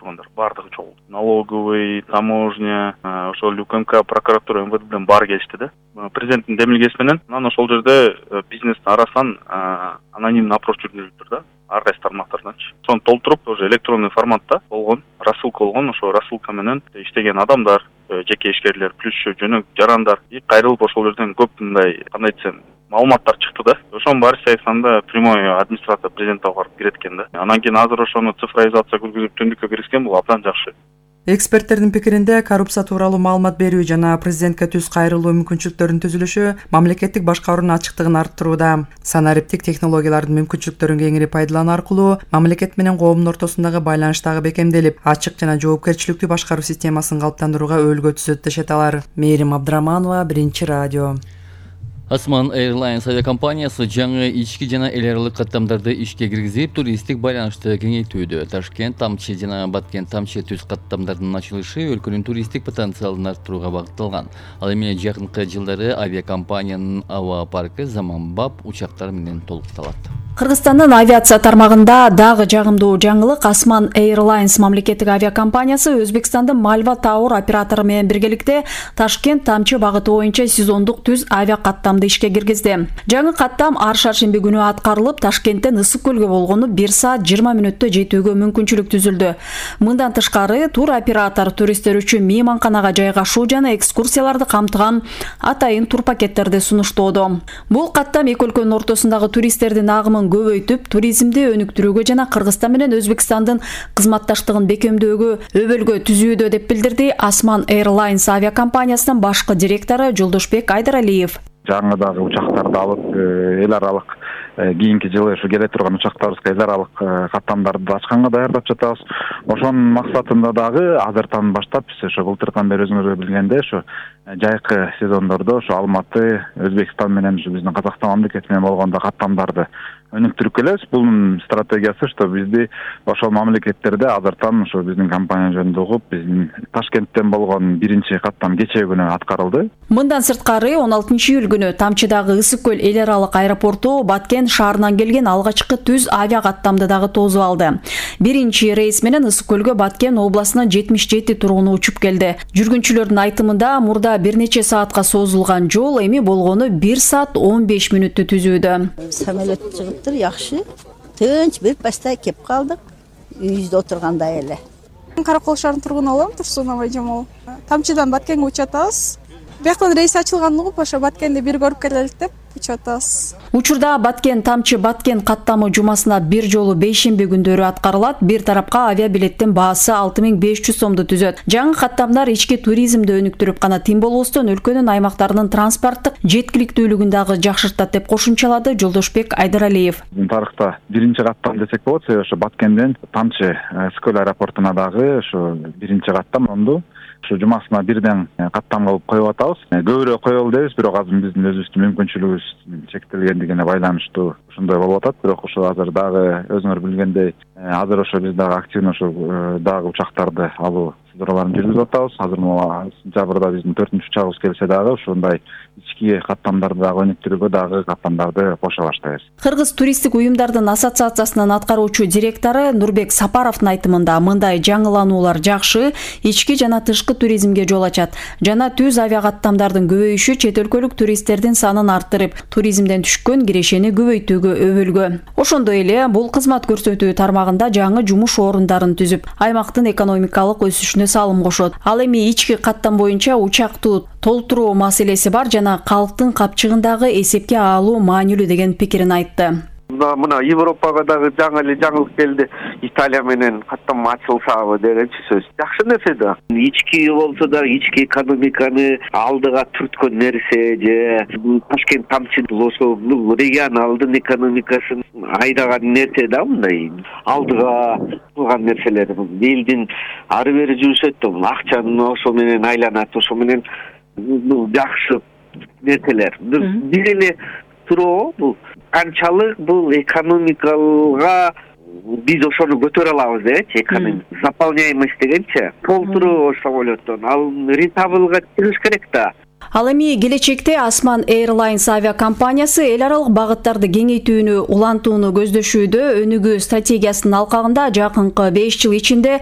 тургандар баардыгы чогулду. Налоговый, таможня, ошол УКМК, прокуратура, МВД менен баары келишти да. Президенттин демилгеси менен анан ошол жерде бизнестин арасынан анонимный опрос жүргүзүлүптүр да. Ар кайсы тармактарданчы. Сону толтуруп, уже электронный форматта болгон, рассылка болгон, ошо рассылка менен иштеген адамдар, жеке ишкерлер, плюс жөнөк жарандар кайрылып ошол жерден көп мындай кандай десем маалыматтар чыкты да. Ошонун баары айтканда прямой администрация президентке барып кирет экен да. Анан кийин азыр ошону цифровизация жүргүзүп түндүккө киргизген бул абдан жакшы. Эксперттердин пикиринде коррупция тууралуу маалымат берүү жана президентке түз кайрылуу мүмкүнчүлүктөрүнүн түзүлүшү мамлекеттик башкаруунун ачыктыгын арттырууда. Санариптик технологиялардын мүмкүнчүлүктөрүн кеңири пайдалануу аркылуу мамлекет менен коомдун ортосундагы байланыш дагы бекемделип, ачык жана жоопкерчиликтүү башкаруу системасын калыптандырууга өбөлгө түзөт дешет алар. Мээрим Абдыраманова, Биринчи радио. Osman Airlines авиакомпаниясы жаңы ички жана эл аралык каттамдарды ишке киргизип, туристтик байланышты кеңейтүүдө. Ташкент Тамчы жана Баткен Тамчы түз каттамдардын ачылышы өлкөнүн туристтик потенциалын арттырууга багытталган. Ал эми жакынкы жылдары авиакомпаниянын аба паркы заманбап учактар менен толукталат. Кыргызстандын авиация тармагында дагы жагымдуу жаңылык Osman Airlines мамлекеттик авиакомпаниясы Өзбекстандын Malva Tower оператору менен биргеликте Ташкент Тамчы багыты боюнча сезондук түз авиакаттамды ишке киргизди. Жаңы каттам ар шаршемби күнү аткарылып, Ташкенттен Ысык көлгө болгону 1 саат 20 мүнөттө жетүүгө мүмкүнчүлүк түзүлдү. Мындан тышкары тур оператор туристтер үчүн мейманканага жайгашуу жана экскурсияларды камтыган атайын тур пакеттерди сунуштоодо. Бул каттам эки өлкөнүн ортосундагы туристтердин агымын көбөйтүп, туризмди өнүктүрүүгө жана Кыргызстан менен Өзбекстандын кызматташтыгын бекемдөөгө өбөлгө түзүүдө деп билдирди Osman Airlines авиакомпаниясынын башкы директору Жолдошбек Айдаралиев. Жаңы дагы учактарды алып, эл аралык кийинки жылы ушу келе турган учактарыбызга эл аралык каттамдарды ачканга даярдап жатабыз. Ошонун максатында дагы азыртан баштап биз ошо былтырдан бери өзүңөр билгендей ошо жайкы сезондордо ошо Алматы, Өзбекстан менен ушу биздин Казакстан мамлекети менен болгондо каттамдарды өнүктүрүп келебиз. Бунун стратегиясы что бизди ошол мамлекеттерде азыртан ошо биздин компания жөнүндө угуп, биздин Ташкенттен болгон биринчи каттам кечээ күнү аткарылды. Мындан сырткары 16-июль күнү Тамчыдагы Ысык көл эл аралык аэропорту Баткен шаарынан келген алгачкы түз авиа каттамды дагы тосуп алды. Биринчи рейс менен Ысык көлгө Баткен областынын 77 тургуну учуп келди. Жүргүнчүлөрдүн айтымында мурда бир нече саатка созулган жол эми болгону 1 саат 15 мүнөттү түзүүдө. Самолет чыгыптыр, жакшы. Тынч бир пастай кеп калдык. Үйүздө отургандай эле. Каракол шаарынын тургуну болом, Турсун Абайжамал. Тамчыдан Баткенге учуп атабыз. Бияктан рейс ачылган угуп, ошо Баткенди бир көрүп келелик деп учуп атабыз. Учурда Баткен Тамчы Баткен каттамы жумасына бир жолу бейшемби күндөрү аткарылат. Бир тарапка авиабилеттин баасы 6500 сомду түзөт. Жаңы каттамдар ички туризмди өнүктүрүп гана тим болбостон өлкөнүн аймактарынын транспорттук жеткиликтүүлүгүн дагы жакшыртат деп кошумчалады Жолдошбек Айдаралиев. Тарыхта биринчи каттам десек болот, ошо Баткенден Тамчы Скөл аэропортуна дагы ошо биринчи каттам онду. Ошо жумасына бирден каттам кылып коюп атабыз. Көбүрөөк коелу дебиз, бирок азыр биздин өзүбүздүн мүмкүнчүлүгүбүз чектелгендигине байланыштуу ошондой болуп атат. Бирок ошо азыр дагы өзүңөр билгендей, азыр ошо биз дагы активно ошо дагы учактарды алуу чараларын жүргүзүп атабыз. Азыр сентябрда биздин 4-учагыбыз келсе дагы ушундай ички каттамдарды дагы өнүктүрүүгө дагы каттамдарды кошо баштайбыз. Кыргыз туристтик уюмдардын ассоциациясынын аткаруучу директору Нурбек Сапаровдун айтымында мындай жаңылануулар жакшы, ички жана тышкы туризмге жол ачат. Жана түз авиакаттамдардын көбөйүшү чет өлкөлүк туристтердин санын арттырып, туризмден түшкөн кирешени көбөйтүүгө өбөлгө. Ошондой эле бул кызмат көрсөтүү тармагында жаңы жумуш орундарын түзүп, аймактын экономикалык өсүшүнө салым кошот. Ал эми ички каттам боюнча учактуу толтуруу маселеси бар жана калктын капчыгындагы эсепке алуу маанилүү деген пикирин айтты. Мына Европага дагы жаңы эле жаңылык келди. Италия менен каттам ачылсабы дегенчи сөз. Жакшы нерсе да. Ички болсо да ички экономиканы алдыга түрткөн нерсе же Ташкент Тамчы болсо регионалдын экономикасын айдаган нерсе да, мындай алдыга кылган нерселер. Элдин ары бери жүрүшөт да, акчаны ошо менен айланат, ошо менен жакшы нерселер. Бир эле туроо бул канчалык бул экономикага биз ошону көтөрө алабыз дечи, заполняемость дегенчи, толтуруу самолеттон ал рентабелга чыгыш керек да. Ал эми келечекте Osman Airlines авиакомпаниясы эл аралык багыттарды кеңейтүүнү улантууну көздөшүүдө. Өнүгүү стратегиясынын алкагында жакынкы 5 жыл ичинде